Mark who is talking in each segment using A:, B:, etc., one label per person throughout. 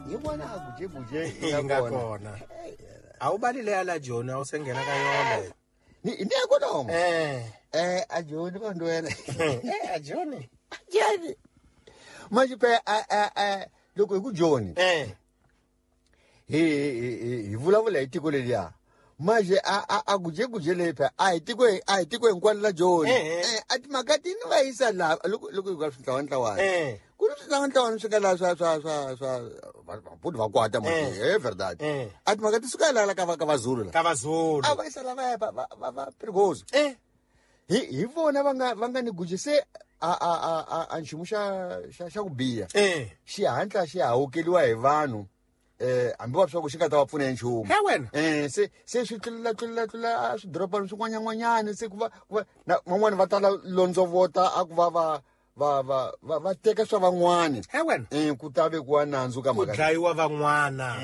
A: Ni vona a gujeguje
B: Yi nga kona. A wu bali leya la Joni a wu se nghena ka yona.
A: Ni ya kona homo.
B: Eh.
A: A Joni vanhu wena.
B: A Joni.
A: Joni. Manje pe a loko hi ku Joni. Hi vulavula hi tiko leriya. Manje a gujeguje leyi phe a hi tiko a hi tiko hinkwalo la Joni. A timhaka ti ni va yisa laha loko loko hi ku swintlawantlawani. Ku ni swintlawantlawani swi nga laha swa vabuti va kwata manje verdad. A timhaka ti suka laha ka vaZulu la.
B: Ka vaZulu.
A: A va yisa lava va Perigoso. Hi vona va nga ni guje se a nchumu xa ku biha. Xihatla xi hawukeliwa hi vanhu. Hambi va swa ku xi nga ta va pfuna hi nchumu.
B: He wena.
A: Se swi tlula tlula tlula a swidorobana swin'wanyana se ku va na van'wani va tala londzovota a ku va teka swa van'wani.
B: He wena.
A: Ku ta vekiwa nandzu ka
B: mhaka. Ku dlayiwa van'wana.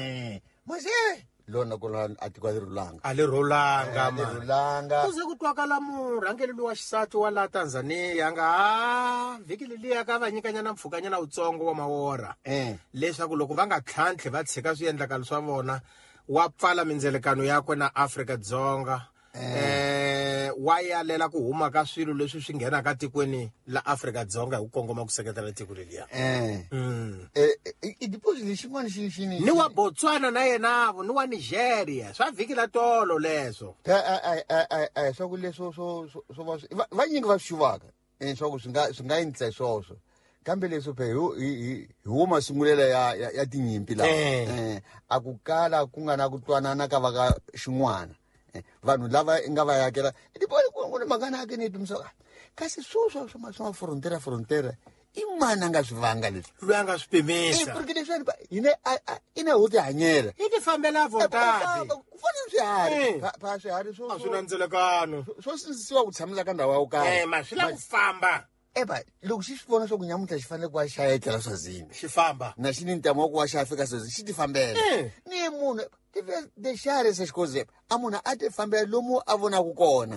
A: Mase lona ku la a tiko ri rhulanga.
B: A li rhulanga
A: A li rhulanga.
B: Ku ze ku twakala murhangeri lowa xisati wa la Tanzania nga vhiki leliya ka va nyikanyana mpfhukanyana wutsongo wa mawora. Leswaku loko va nga tlhantlhi va tshika swiendlakalo swa vona wa pfala mindzelekano yakwe na Afrika Dzonga. Wa yalela ku huma ka swilo leswi swi nghenaka tikweni la Afrika Dzonga hi ku kongoma ku seketela tiko leliya.
A: I deposit lexin'wana xi
B: ni wa Botswana na yena vo ni wa Nigeria swa vhiki la tolo leswo.
A: Swa ku leswo swo va vanyingi va swi xuvaka swa ku swi nga endla swoswo. Kambe leswo phe hi wo masungulela ya tinyimpi lawa. A ku kala ku nga na ku twanana ka va ka xin'wana. Vanhu lava nga va yakela ku ni mhaka na ke ni pimisa kasi swoswo swa frontera i mani a nga swi vanga leswi?
B: Loyi a nga swi pimisa.
A: Porque leswi hina ina ho tihanyela.
B: Hi ti fambela vontati.
A: Ku fana na swiharhi. Pa swiharhi
B: swo a swi na ndzelekano.
A: Swo sindzisiwa ku tshamela ka ndhawu ya ku karhi.
B: Ma swi lava ku famba.
A: Eba loko xi swi vona swa ku nyamuntlha xi fanele ku va xa etlela Swazini.
B: Xi famba.
A: Na xi ni ntamu wa ku va xa fika Swazini xi ti fambela. Ni munhu ti xiharhi se xikoze a munhu a ti fambela lomu a vonaka kona.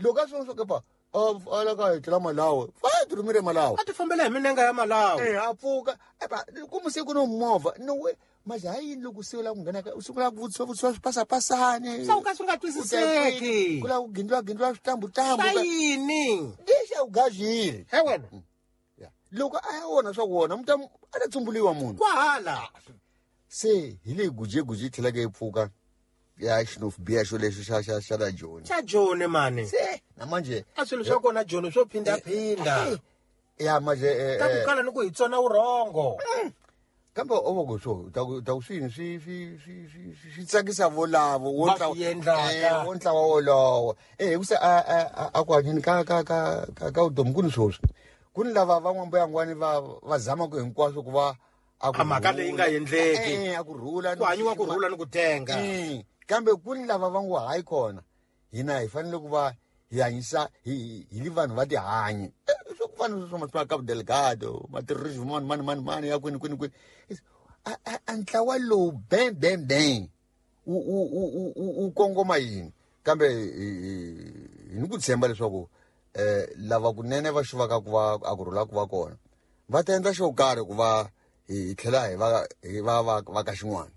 A: Loko a swi vona swa ku pa a la ka etlela Malawi, fa ti rhumile Malawi.
B: A ti fambela hi minenga ya Malawi.
A: A pfuka eba ku musiku no movha no we manje ha yini loko se u lava ku nghena ka u sungula ku vutisiwa swipasapasani.
B: Swa ku ka swi nga twisiseki.
A: Ku lava ku gindliwa switambutambu.
B: Swa yini?
A: Lexi a wu gazile.
B: He wena.
A: Loko a ya wona swa ku wona muta a ta tsumbuliwa munhu.
B: Kwahala.
A: Se hi leyi gujeguje yi tlhelaka yi pfuka ya xinofu biha xo lexo xa la Joni.
B: Xa Joni mani.
A: Se na manje
B: a swilo swa kona Joni swo phindaphinda.
A: Ya manje
B: ta ku kala ni ku hi tsona vurhongo.
A: Kambe o va ku swo ta ku swini swi tsakisa volavo
B: wo
A: ntlawa wo ntlawa wolowo. Hikusa a ku hanyeni ka vutomi ku ni swoswi. Ku ni lava van'wambuyangwani va zamaka hinkwaswo ku va
B: a mhaka leyi nga endleki.
A: A ku rhula
B: ku hanyiwa ku rhula ni ku tenga.
A: Kambe ku ni lava va ngo hayi kona hina hi fanele ku va hi hanyisa hi li vanhu va tihanyi. Swo ku fana swo swa Cabo Delgado, ma terrorism mani ya kwini kwini kwini. A ntlawa lowu bang bang bang u kongoma yini? Kambe hi ni ku tshemba leswaku lava kunene va xuvaka ku va a ku rhula ku va kona va ta endla xo karhi ku va hi tlhela hi va va ka xin'wana.